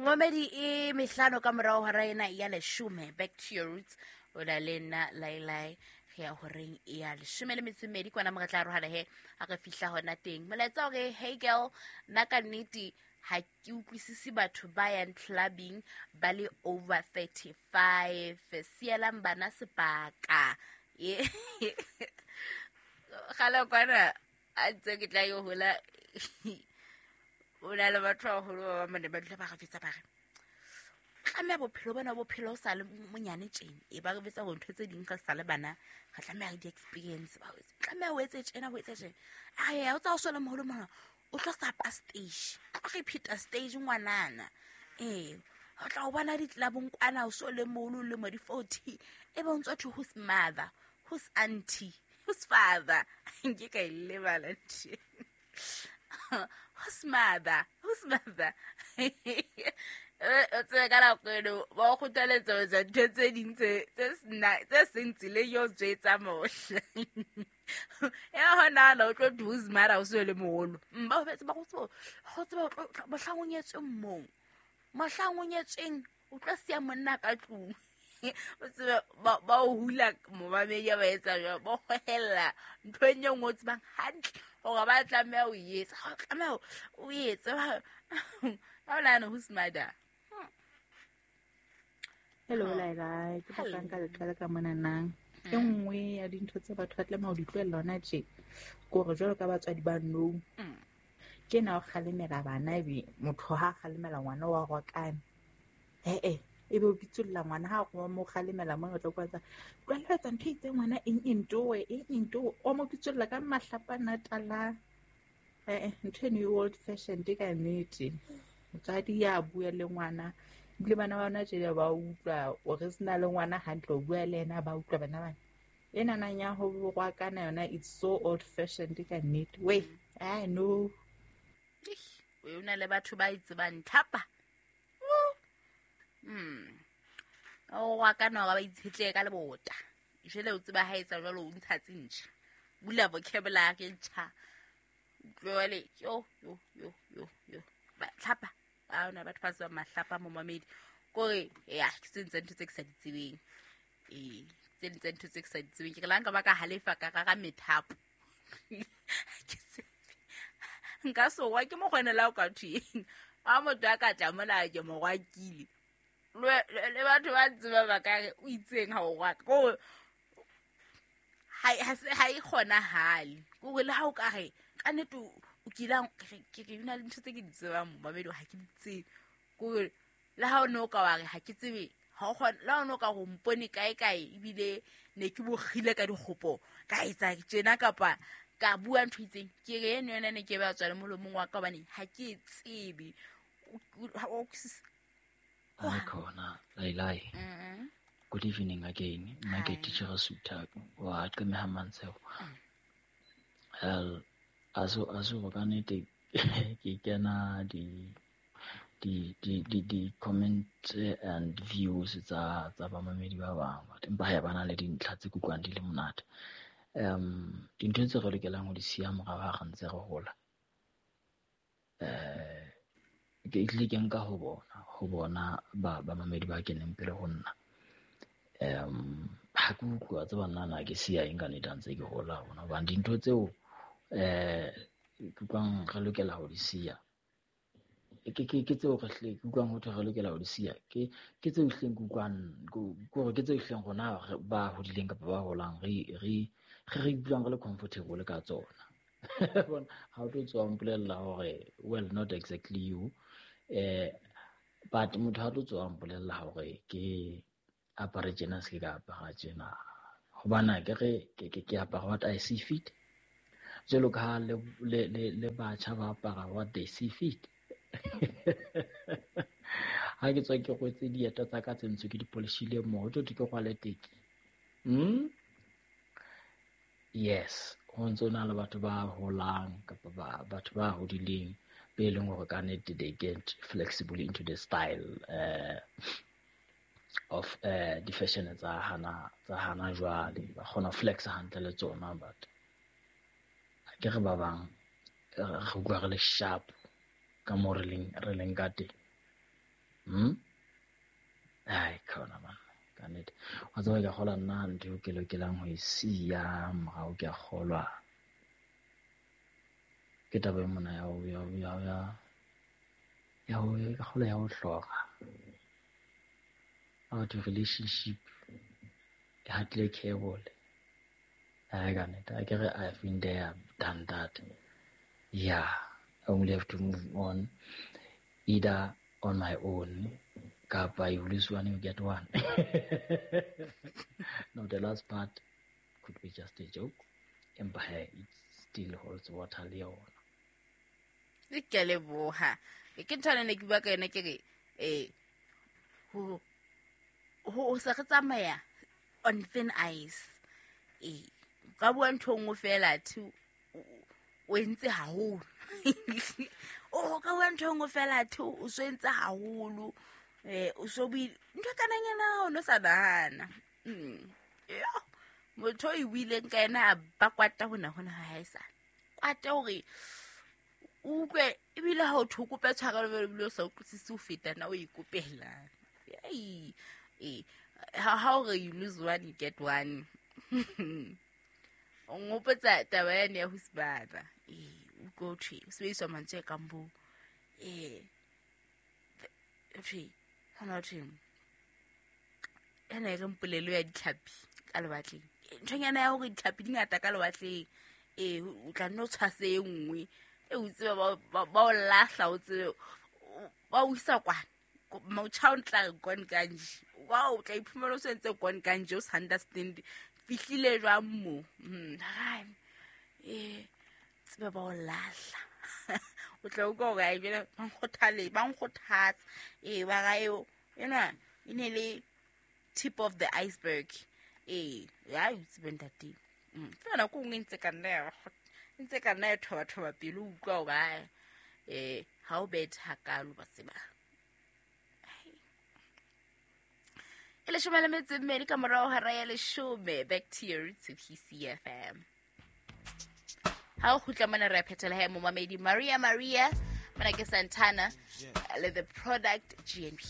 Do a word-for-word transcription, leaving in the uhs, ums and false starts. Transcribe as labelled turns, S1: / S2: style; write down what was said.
S1: Momedi e mehlano ka morao hora ena ya leshome. Back to your roots. O na le nna Lailai re ya horeng ya leshome le metso e mmedi kwana mo re tla arohana he ha re fihla hona teng. Molaetsa o re, hey girl, nna ka nnete ha ke utlwisise batho ba yang clubbing ba le over thirty-five. Sielang bana sebaka. Ye. Kgale kwana a ntse ke tla yo hola o na le batho ba baholo ba bang ba ne ba dula ba re fetsa ba re tlameha bophelo bona bophelo o sa le monyane tjena. E ba re betsa hore ntho tse ding re sa le bana re tlameha re di-experience ba o etse. Tlameha o etse tjena, o etse tjena. Ae, o tsa o so le moholo mona, o tlo sapa stage. O tlo repeat-a stage ngwanana. Ee, o tla o bona di-club-ong kwana o so le moholo o lemo di forty. E be o ntso thwe who's mother, who's auntie, who's father. Nke ka e lebala ntho. Who's mother, who's mother. O tsebe ka nako eno ba o kgothaletsa ho etsa ntho tse ding tse tse sena tse seng tseleng eo tswetsa mohla. Ya hona na o tlo thwe who's mother o so le moholo. Mm, ba o betse ba go tseba go tseba o tlo mohlang o nyetsweng moo. Mohlang o nyetsweng o tlo siya monna ka tlung. O tsebe ba ba o hula momamedi ba etsa jwang, ba hohella ntho e nngwe o tsebang hantle hore ba tlameha ho e etsa. Ha o tlameha o etse. Ha o nahana who's mother.
S2: Hello, Laila. Ke
S1: Hello.
S2: batla nka le qala ka mona nang. E
S1: Mm.
S2: nngwe ya dintho tse batho ba tlameha ho di tlohella hona tje, ke hore jwalo ka batswadi ba nou,
S1: Mm.
S2: ke ena o kgalemela bana ebe motho ha a kgalemela ngwana wa rwakana. Eh-eh, ebe o bitsolla ngwana ha o mo kgalemela mona o tla kwa tsa, tlohella ho etsa ntho e itseng ngwana eng eng towe, eng eng towe. O mo bitsolla ka mahlapa a natalang. Eh-eh, ntho eno e old fashioned ka nnete. Motswadi ya bua le ngwana, ebile bana ba hona tjena ba utlwa o re sena le ngwana hantle o bua le yena ba utlwa bana bana. Enana ya ho rwakana yona it's so old fashioned ka nnete. Weh, I know.
S1: O na le batho ba e tsebang thapa. Hmm. O rwakana hore ba itshetlehe ka lebota. Jwale o tseba ha etsa jwalo o ntsha tse ntjha. Bula vocabulary e ntjha. Jwale yo yo yo yo yo. Ba tlhapa. Ha hona batho ba tsebang mahlapa momamedi. Kore ya ke tse ding tsa ntho tse ke sa di tsebeng. Ee, tse ding tsa ntho tse ke sa di tsebeng. Ke re la nka ba ka halefa ka rara methapo. Ke se nka sowa ke mokgonela o ka thweng. Ha motho a ka tla mona ke mo rwakile. Le le batho ba tseba ba ka re o itseng ha o rwaka. Kore ha ha se ha e kgonahale. Kore le ha o ka re ka nnete o kile ke ke na le ntho tse ke di tsebang momamedi ha ke di tsebe. Kore le ha o no ka wa re ha ke tsebe ha o kgona le ha o no ka go mpone kae kae ebile ne ke bokgile ka dikgopo ka etsa tjena kapa ka bua ntho e itseng. Ke re eno yona ne ke ba tswa le molomong wa ka hobane ha ke e tsebe. O
S3: Hi khona Lailai.
S1: Mm.
S3: Good evening again. Nna ke
S1: Hi.
S3: teacher Sutha wa Qemeha Mantsheo. Hell, aso aso ka nnete ke kena di di di di di comments and views tsa tsa bamamedi ba bang but empa ha ba na le dintlha tse kutlwang di le monate. Um dintho tse re lokelang ho di siya morao ha re ntse re hola. Eh ke tlile ke nka ho bona ho bona ba bamamedi ba keneng pele ho nna. Um ha ke utlwa tseba nna na ke siya eng ka nnete ha ntse ke hola hona hobane dintho tseo eh ke utlwang re lokela ho di siya. Ke ke ke tseo re hle ke utlwang ho thwe re lokela ho di siya. Ke ke tseo ehlileng ke utlwang ke hore ke tseo ehlileng rona re ba hodileng kapa ba holang re re re re ikutlwang re le comfortable ka tsona. Bona ha o tlo tswa mpolella hore well not exactly you eh but motho ha tlo tswa mpolella hore ke apare tjena se ke ka apara tjena hobane ke re ke ke ke apara what I see fit. Jwalo ka ha le le le le batjha ba apara what they see fit. Ha ke tswa ke rwetse dieta tsa ka tse ntsho ke di polishile moo, ho tlo thwe ke rwale teki. Hmm? Yes, ho ntso na le batho ba holang kapa ba batho ba hodileng be leng hore ka nnete they get flexible into the style eh of eh di fashion tsa hana tsa hana jwale ba kgona ho flex hantle le tsona but ha ke re ba bang re utlwa re le sharp ka moo re leng re leng ka teng. Hmm? Ai khona man. Ka nnete. Wa tseba ke a kgolwa nna ntho eo ke lokelang ho e siya morao ke a kgolwa. Ke taba e mona ya ho ya ya ya ya ho ka kgolwa ya ho hlora. About relationship ke hatile cable. Ai ka nnete. Akere I've been there, done that. Yeah, I only have to move on either on my own kapa you lose one, you get one. No, the last part could be just a joke, empa he it still holds water le yona.
S1: Ke a leboha. Ke ntho ena ne ke bua ka yona ke re eh ho ho se re tsamaya on thin ice. Eh ka bua ntho nngwe fela thi o entse haholo. O ka bua ntho nngwe fela thi o so entse haholo. Eh o so buile ntho kana nyana o no sa nahana. Mm. Yo motho e buileng ka yena a ba kwata hona hona ha e sa. Kwata hore o utlwe ebile ha o thwe o kope tshwarelo ebile o sa utlwisise ho feta na o ikopela. Ei eh ha ha o re you lose one you get one. O ngopotsa taba yane ya ho sibana. Eh utlwe ho thwe o sebediswa mantswe a kang bo eh thwe hona thwe ena e reng polelo ya ditlhapi ka lewatleng. Nthonyana ya hore ditlhapi di ngata ka lewatleng. Eh o tla nno tshwase e nngwe. E o tsebe ba ba o lahla o tsebe ba o isa kwana. Motjha o ntla re gone kanje. Wa o tla iphumana o sentse gone kanje o sa understand fihlile jwang mo. Mm hai. Eh tsebe ba o lahla. O tla utlwa hore ai jwale ba nkgothale ba nkgothatsa. Eh ba ra eo ena e ne le tip of the iceberg. Eh ya o tsebe ntate. Mm fela nako nngwe ntse ka nna ya ntse ka nna ya thoba thoba pele o utlwa hore ai eh ha o bethe hakalo ba tseba. E leshome le metso e mmedi ka morao hora ya leshome. Back to your roots with P C F M. Ha o kgutla mona re a phethela he momamedi Maria Maria mona ke Santana le the product G N B.